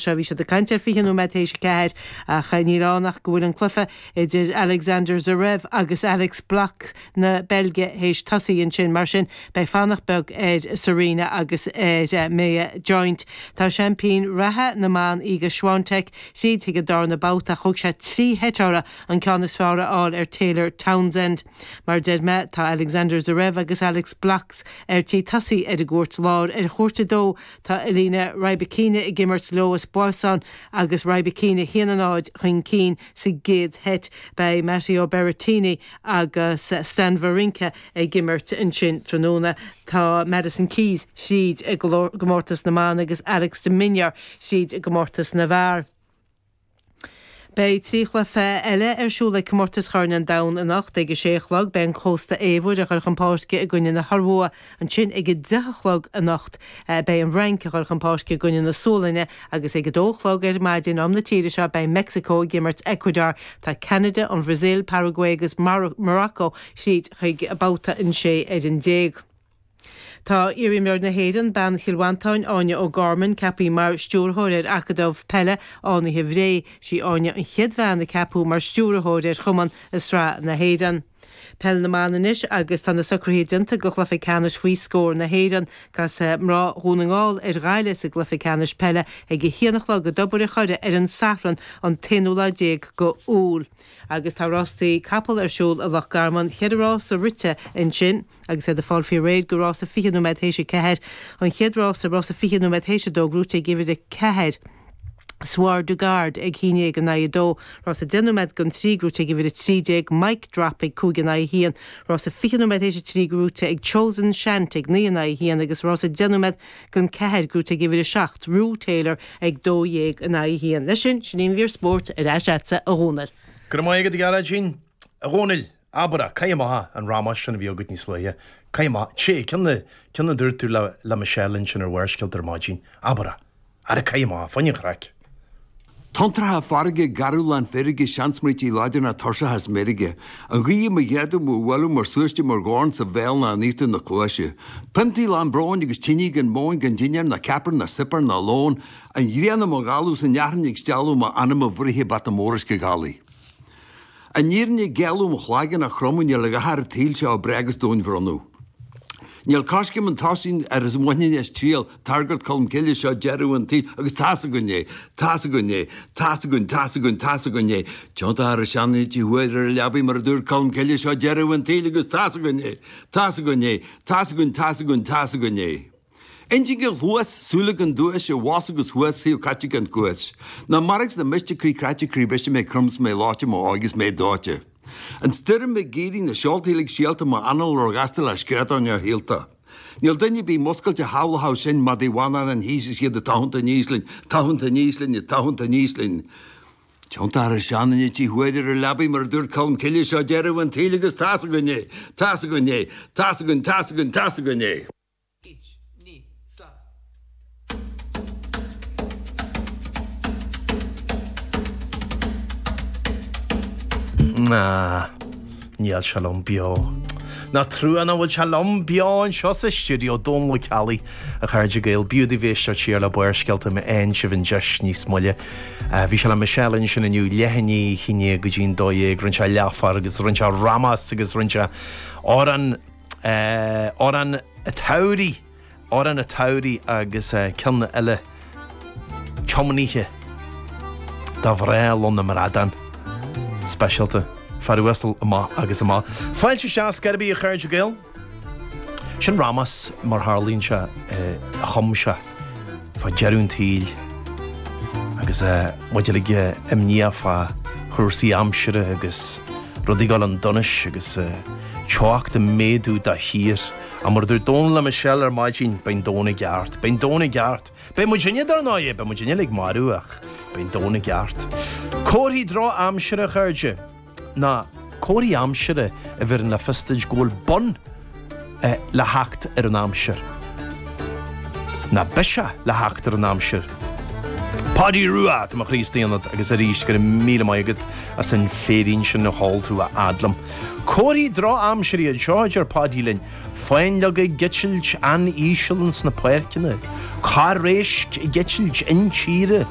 Seo, bhí siad ag caint ar 20 nóiméad théis a 4 ach níl ann ach go bhfuil an cluiche idir Alexander Zverev agus Alex Blockx na Beilge théis tosaí ansin. Mar sin, beidh fanacht beag ar Serena agus ar Maya Joint. Tá seaimpín reatha na mban Iga Swiatek tríd chuig an darna babhta ach thóg sé 3 sheit uirthi an ceann is fearr a fháil ar Taylor Townsend. Mar a deir mé, tá Alexander Zverev agus Alex Blockx ar tí tosaí ar an gcúirt láir. Ar chúirt 2, Tá Elena Rybakina ag imirt Lois Boisson agus Rybakina 1-0 chun cinn sa gcéad sheit. Beidh Matteo Berrettini agus Stan Wawrinka ag imirt ansin tráthnóna. Tá Madison Keys thríd i gcomórtas na mban agus Alex de Minaur thríd i gcomórtas na bhfear. Beidh 3 chluiche eile ar siúl ag Comórtas Chorn an Domhain anocht. Ag a sé a chlog beidh an Cósta Eabhair ag dul chun páirce i gcoinne na hIorua. Ansin ag a 10 a chlog anocht beidh an Fhrainc ag dul chun páirce i gcoinne na Sualainne agus ag a dó a chlog ar maidin am na tíre seo beidh Meicsiceo ag imirt Ecuador. Tá Ceanada, an Bhrasaíl, Paraguay agus Morocco thríd chuig babhta an 16 ar an. Tá iarimreoir na hÉireann, bean Chill Mhantáin, Áine O'Gorman, ceaptha mar stiúrthóir ar Acadamh Peile Fhánaithe Bhré. Sí Áine an chéad bhean a ceapadh mar stiúrthóir ar chumann i Sraith na hÉireann. Peil na mBan anois agus tá na socruithe déanta do chluiche ceannais faoi scór na hÉireann. Casfaidh mná Dhún na nGall ar Ghaillimh sa gcluiche ceannais peile ag a haon a chlog i dTobar an Choire ar an Satharn an t-aonú lá déag go Iúil. Agus tá rástaí capall ar siúl i Loch Garman, cheithre rása rite ansin. Agus iad ag fáil faoi réir do rása 20 nóiméad théis a 4, an chéad rása, rása 20 nóiméad théis a 2, gnóite ag uimhir 4, Soir Du Gard ag haon dhéag in aghaidh a dó, rása 10 nóiméad don 3, gnóite ag uimhir 13, Mic Drop ag 5 in aghaidh a 1, rása 20 nóiméad théis a 3, gnóite ag Chosen Shant ag 9 in aghaidh a 1 agus rása 10 nóiméad don 4, gnóite ag uimhir 7, Rue Taylor ag 12 in aghaidh a 1. Leis sin, sin í an mhír spóirt, ar ais agatsa, a Dhónaill. Go raibh maith agat, a Ghearóidín. A Dhónaill! Abair é, caith amach an rámás sin a bhí agat níos luaithe. Caith amach, sé, ceann a, ceann a dúirt tú le, le Michelle ansin ar Bharrscéalta ar maidin. Abair é. Ara caith amach, fá choinne an chraic. Tonntracha farraige, garbh lán feirge, seansmaointí láidir ná tuirseach is meirge. An ghaoth i mo ghéadadh, mo bhualadh mar súiste, mar dhorn sa bhéal ná in íochtar na cluaise. Piontaí lán bróin agus tine gan móin, gan dinnéar ná ceapaire ná suipéar ná lón. An ghrian i mo dhalladh 's an fhearthainn ag stealladh m'anam a bhruith bata mór uisce ghealaí. An fhírinne ag géilleadh mo chlaigeann á chromadh níl a dhath ar an tsaol seo ab breá agus domhainbhronnadh. Níl coiscéim an tosaigh ar is bhainfinn as triail targairt Cholm Cille seo deireadh an tsaoil agus tá's againn é, tá's againn é, tá's againn, tá's againn, tá's againn é. Tiontaithe ar a seanfhití thuaidh ar a leabaidh mar a dúirt Colm Cille seo deireadh an tsaoil agus tá's againn é, tá's againn é, tá's againn, tá's againn, tá's againn é. Intinn gan chluas, súile gan duais, i bhfos agus thuas, saol caite gan cuas. Ná mairg 's ná miste, croí cráite, croí briste, mé crom 's mé leoite, mo óige 's mé dóite. An stoirm ag éirí, na seolta uilig síolta, mo anáil róghasta le screadán ar shíolta. Níl duine ar bith muscailte a shamhlódh sinn, madaí Mhanannáin thíos is iad ag tathant aníos linn, tathant aníos linn, ag tathant aníos linn. Tiontaithe ar a seanfhití thuaidh ar a leabaidh mar a dúirt Colm Cille seo deireadh an tsaoil agus tá's againn é, tá's againn é, tá's againn, tá's againn, tá's againn é. Ich, ni, sa. Ná, níl sé liom beo. Nach trua nach bhfuil sé liom beo anseo sa stiúideo, Dónal Ó Ceallaigh, a chairde Gael, b'fhiú daoibh éisteacht siar le Barrscéalta má fhaigheann sibh an deis níos moille. Bhí sé le Michelle ansin inniu, leath i ndiaidh a haon déag go dtí an 12, rinne sé leathfar agus rinne sé rámás agus rinne sé amhrán Amhrán an tSamhraidh, Amhrán an tSamhraidh agus ceann eile tiomnaithe do mhná Lon na mBradán. Speisialta. Fear uasal amach agus amach. Fáilte isteach scor ar bith a chairde Gael. Sin rámás mar tharlaíonn sé a chum sé fá deireadh an tsaoil agus muid uilig imníoch fá chúrsaí aimsire agus rudaí ag dul chun donais agus teocht ag méadú de shíor. Ach mar a dúirt Dónal le Michelle ar maidin, beidh an domhan i gceart, beidh an domhan i gceart. Beidh muidinne dar ndóigh, beidh muidinne uilig marbh ach beidh an domhan i gceart. Comharthaí drochaimsire, a chairde. ná comharthaí aimsire a bheireann le fios duit go bhfuil bun le theacht ar an aimsir. Ná biseach le theacht ar an aimsir. Páidí Rua, tá mo chroí istigh ionat agus arís go raibh míle maith agat as an féirín sin a sheol tú a fhad liom. Comharthaí drochaimsire iad seo, a deir Páidí linn. Fáinleoga ag eitilt an-íseal ins na páirceanna, Corr éisc ag eitilt intíre.